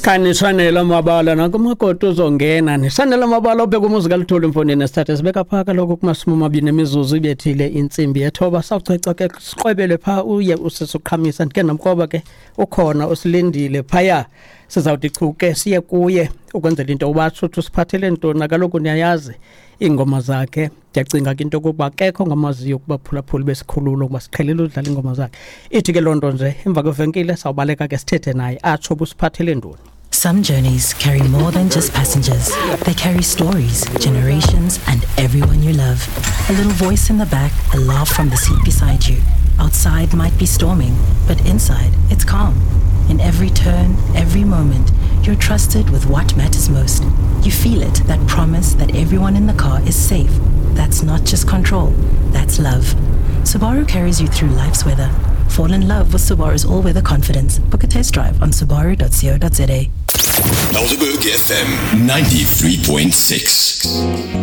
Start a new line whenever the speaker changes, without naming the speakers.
Khani mabala nankumakoti uzongena nisanela mabala obheka umuzi kaLuthuli mfondini nesithathe sibeka phaa kaloku kumashumi amabini emizuzu ibethile intsimbi yethoba. Sawuceca ke siqwebele phaa uye usisuqhamisa ndike ndamkroba ke ukhona usilindile phaya. Sizawuthi chu ke siye kuye ukwenzela into yokuba atsho usiphathele ntoni. Kaloku niyayazi iingoma zakhe, ndiyacinga ke into yokokuba akekho ongamaziyo kubaphulaphuli besikhululo ukuba siqhelile udlala iingoma zakhe. Ithi ke loo nto nje emva kwevenkile sawubaleka ke sithethe naye atsho busiphathele ntoni.
Some journeys carry more than just passengers. They carry stories, generations, and everyone you love. A little voice in the back, a laugh from the seat beside you. Outside might be storming, but inside it's calm. In every turn, every moment, you're trusted with what matters most. You feel it, that promise that everyone in the car is safe. That's not just control, that's love. Subaru carries you through life's weather. Fall in love with Subaru's all-weather confidence. Book a test drive on subaru.co.za.
Helderberg FM 93.6.